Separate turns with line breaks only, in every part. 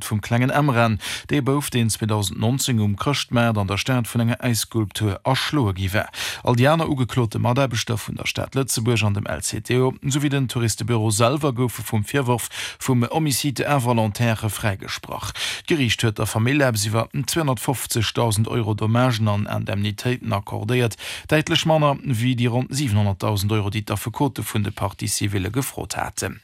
Vum klengen Emran, dee Bouf, deen 2019 um Chrëschtmaart an der Stad vun enger Äisskulptur erschloe gi war. All déi aner ugeklote Mataarbechter vun der Stad Lëtzebuerg an dem LCTO, souwéi den Touristebüro selwer goufe vum Virworf vum Homicide involontaire fräigesprach. D'Geriicht huet der Famill eppes iwwer 250.000 Euro Dommagen an Indemnitéiten accordéiert, däitlech manner wéi déi ronn 700.000 Euro, déi d'Affekote vun de Parties civiles gefrot haten.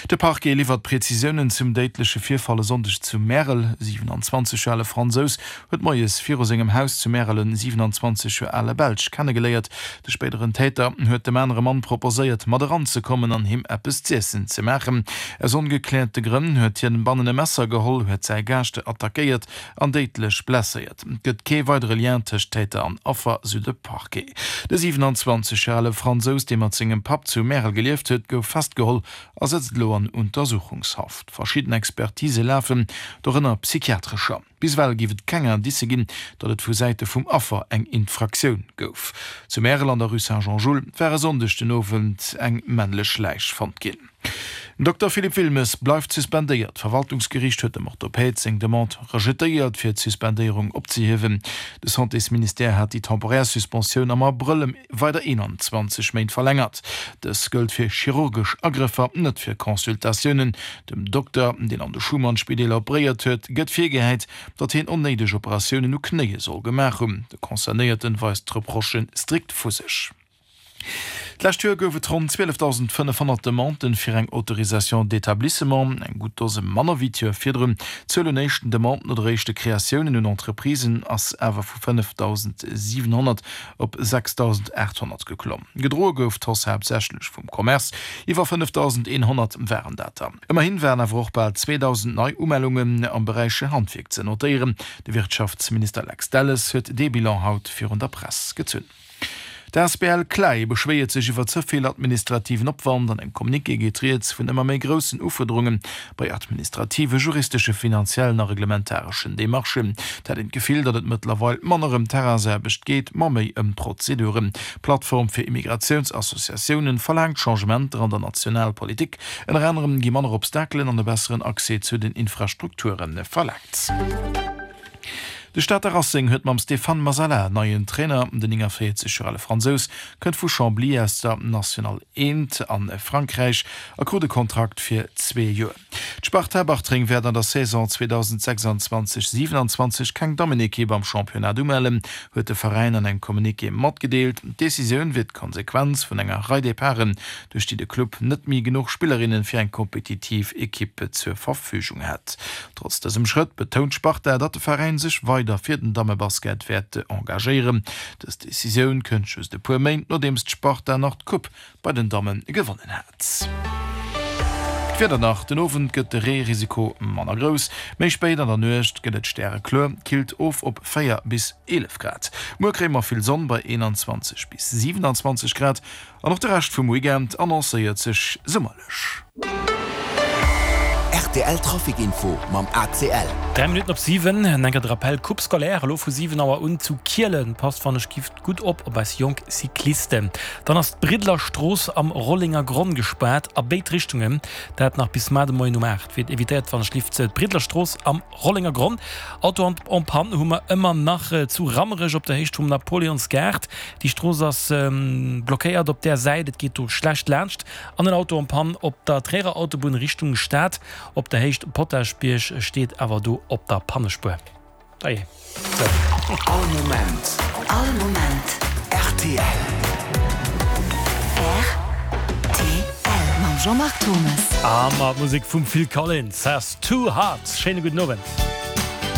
De Parquet liwwert Prezisiounen zum déidleche Virfall e Sonndeg zu Märel. E 27 Joer ale Fransous huet moies viru sengem Haus zu Märel en 27 Joer ale Belsch kennegeléiert. De spéideren Täter huet dem anere Mann proposéiert, mat eranzekommen an him eppes z'iessen ze maachen. Aus ongekläerte Grënn huet hien bannen e Messer geholl, huet säi Gaascht attackéiert an déidlech blesséiert. Et gëtt kee weidere Lien tëscht Täter an Affer, sou de Parquet. De 27 Joer ale Fransous, dee mat sengem Papp zu Märel gelieft huet, gouf festgeholl a sëtzt elo an Untersuchungshaft. Verschidden Expertise lafen, dorënner psychiatrescher. Bis ewell géif et keng Indicë ginn, datt et vu Säite vum Affer eng Infraktioun gouf. Zu Märel an der Rue Saint-Jean-Jules war e Sonndeg den Owend eng männlech Läich fonnt ginn. Den Dokter Philippe Wilmes bleift suspendéiert. D'Verwaltungsgeriicht huet dem Orthopäd seng Demande rejetéiert, fir d'Suspendéierung opzehiewen. De Santésministère hat déi temporär Suspensioun am Abrëll ëm weider 21 Méint verlängert. Dës gëllt fir chirurgesch Agrëffer, net fir Consultatiounen. Dem Dokter, deen an de Schuman-Spideeler operéiert huet, gëtt virgehäit, datt hien onnéideg Operatiounen u Knéie soll gemaach hunn. De Concernéierten weist d'Reprochë strikt vu sech. D'lescht Joer gouf et ronn 12.500 Demanden fir eng Autorisation d'établissement, eng gutt Dose manner wéi d'Joer virdrun. D'Zuel un éischten Demanden oder éischte Kreatiounen un Entreprisen ass awer vu 5.700 op 6.800 geklomm. Gedroe gouf d'Hausse haaptsächlech vum Commerce, iwwer 5.100 waren dat der. Ëmmerhin waren awer och bal 2.000 nei Umellungen am Beräich Handwierk ze notéieren. De Wirtschaftsminister Lex Delles huet dee Bilan haut virun der Press gezunn. D'asbl CLAE beschwéiert sech iwwer ze vill administrativen Opwand. An engem Communiqué geet rieds vun ëmmer méi groussen Ufuerderunge bei administrative, juristesche, finanziellen a reglementareschen Demarchen. Et hätt een d'Gefill, datt et mëttlerweil manner ëm Terrainsaarbecht geet, ma méi ëm Prozeduren. D'Plattform fir Immigratiounsassociatiounen verlaangt Changementer an der Nationalpolitik. Ënner anerem gi manner Obstakelen an e besseren Accès zu den Infrastrukture verlaangt. De Stater Racing huet mam Stéphane Masala en neien Trainer. Den 49 Joer ale Fransous kënnt vu Chambly aus der National 1 a Frankräich a krut e Kontrakt fir zwee Joer. D'Sparta Bartreng wäert an der Saison 2026, 27 keng Dammenekipp am Championnat umellen, huet de Veräin an engem Communiqué matgedeelt. D'Decisioun wier d'Konsequenz vun enger Rei Departen, duerch déi de Club net méi genuch Spillerinne fir eng kompetitiv Ekipp zur Verfügung hätt. Trotz dësem Schrëtt betount d'Sparta, datt de Veräin sech weider fir den Dammebasket wäert engagéieren. Dës Decisioun kënnt just e puer Méint, nodeems d'Sparta nach d'Coupe bei den Damme gewonnen hat. D'Wieder nach, Den Owend gëtt de Reerisiko manner grouss, méi spéit an der Nuecht gëtt et stärekluer, killt of op 4 bis 11 Grad. Muer kréie mer vill Sonn bei 21 bis 27 Grad. An och de Rescht vum Weekend annoncéiert sech summerlech.
Rtl Trafic Info mam ACL.
3 Minutten op 7, en enker de Rappel, Coupe scolaire elo vu 7 Auer un zu Kielen. Passt wann ech gift gutt op op eis jonk Cyclisten. Dann ass d'Briddeler Strooss am Rollenger Gronn gespaart a béid Richtungen, dat nach bis mar de Moien um 8. Wiert evitéiert wann ech lift d'Briddeler Strooss am Rollenger Gronn. Auto en panne hu mer ëmmer nach zu Rammerech op der Héicht vum Napoleonsgaart. Déi Strooss ass blockéiert op där Säit, et geet do schlecht laanscht. An en Auto en panne op der Tréierer Autobunn Richtung Stad op der Héicht Potaschbierg steet awer do op der Pannespuer. Dajee. Sou.
All Moment.
All Moment.
Rtl.
Rtl. Mam Jean-Marc Thomes.
A mat Musek vum Phil Collins, Too Hot. Schéine gudden Owend.